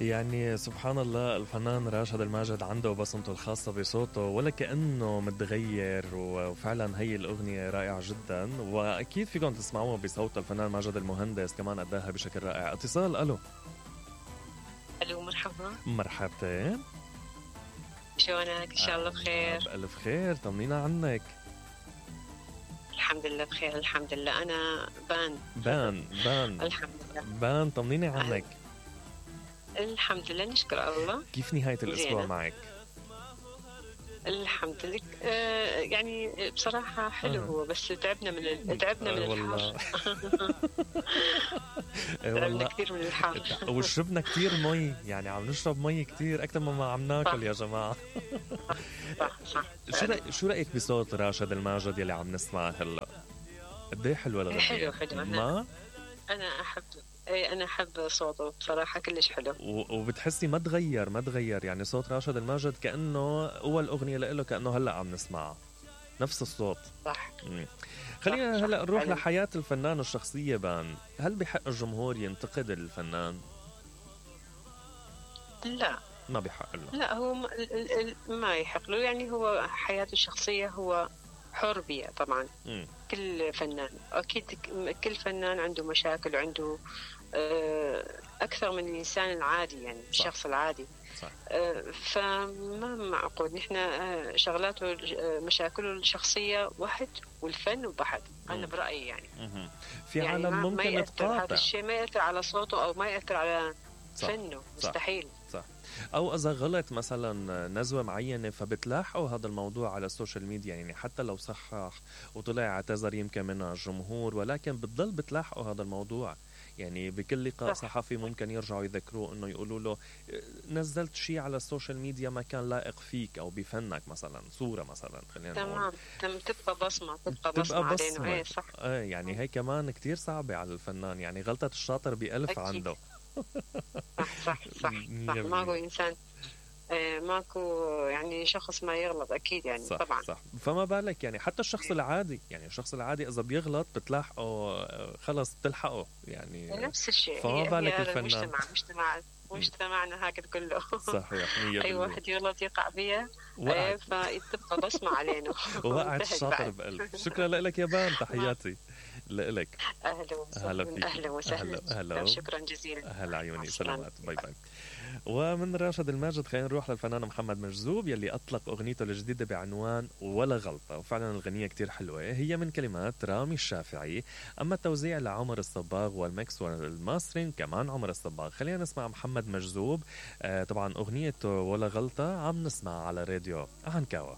يعني سبحان الله، الفنان راشد الماجد عنده بصمته الخاصة بصوته ولا كأنه متغير، وفعلا هي الأغنية رائعة جدا، وأكيد فيكم تسمعوها بصوت الفنان ماجد المهندس كمان أداها بشكل رائع. اتصال. ألو. الو، مرحبا. مرحبتين. شلونك؟ ان شاء الله بخير. بألف خير، طمنينا عنك. الحمد لله بخير، الحمد لله. انا بان الحمد لله. بان، طمنيني عنك. الحمد لله، نشكر الله. كيف نهاية الأسبوع معك؟ الحمد لله. يعني بصراحة حلو هو، بس تعبنا من الحر. تعبنا كثير من الحر. وشربنا كثير مي، يعني عم نشرب مي كثير أكثر مما عم ناكل يا جماعة. صح. شو رأيك بصوت راشد الماجد يلي عم نسمعه هلا؟ قد ايه حلوة الأغنية؟ حلو. ما أنا أحب صوته بصراحة، كلش حلو. وبتحسي ما تغير يعني صوت راشد الماجد كأنه أول أغنية له، كأنه هلأ عم نسمعها نفس الصوت. صح. خلينا هلأ نروح لحياة الفنان الشخصية. بان، هل بحق الجمهور ينتقد الفنان؟ لا، ما بحق له. لا، هو ما يحق له، يعني هو حياته الشخصية هو حر بيها طبعا. كل فنان أكيد، كل فنان عنده مشاكل وعنده أكثر من الإنسان العادي، يعني الشخص العادي. صح. فما معقول نحن شغلاته مشاكله الشخصية واحد والفن وبحد. أنا برأيي يعني في يعني عالم ممكن ما تقاطع هذا الشيء، ما يأثر على صوته أو ما يأثر على فنه. مستحيل. صح. أو إذا غلط مثلا نزوة معينة فبتلاحقوا هذا الموضوع على السوشيال ميديا، يعني حتى لو صحح وطلع اعتذر يمكن منها الجمهور، ولكن بتضل بتلاحقوا هذا الموضوع. يعني بكل لقاء صحفي ممكن يرجعوا يذكروه انه يقولوا له نزلت شيء على السوشيال ميديا ما كان لائق فيك او بفنك، مثلا صورة مثلا، خلينا نقول تبقى بصمة علينا. ايه صح. يعني هي كمان كتير صعبة على الفنان، يعني غلطة الشاطر ب1000 عنده. صح. ماكو إنسان، ماكو يعني شخص ما يغلط أكيد، يعني صح. طبعا. صح. فما بالك يعني حتى الشخص العادي، يعني الشخص العادي إذا بيغلط بتلاحقه، خلص بتلحقه يعني. نفس الشيء. فما بالك الفنان. مجتمعنا هكذا كله. صحيح. أي واحد يغلط يقع بيها، فتبقى بصمة علينا. وقعت الشاطر بقلب. شكرا لك يا بان، تحياتي لك. أهلا وسهلا. شكرا جزيلا. أهلا عيوني، سلامات. باي. ومن راشد الماجد خلينا نروح للفنان محمد مجذوب يلي أطلق أغنيته الجديدة بعنوان ولا غلطة، وفعلا الغنية كتير حلوة، هي من كلمات رامي الشافعي، أما التوزيع لعمر الصباغ والميكس والماسترين كمان عمر الصباغ. خلينا نسمع محمد مجذوب. طبعا أغنية ولا غلطة عم نسمع على راديو عنكاوة.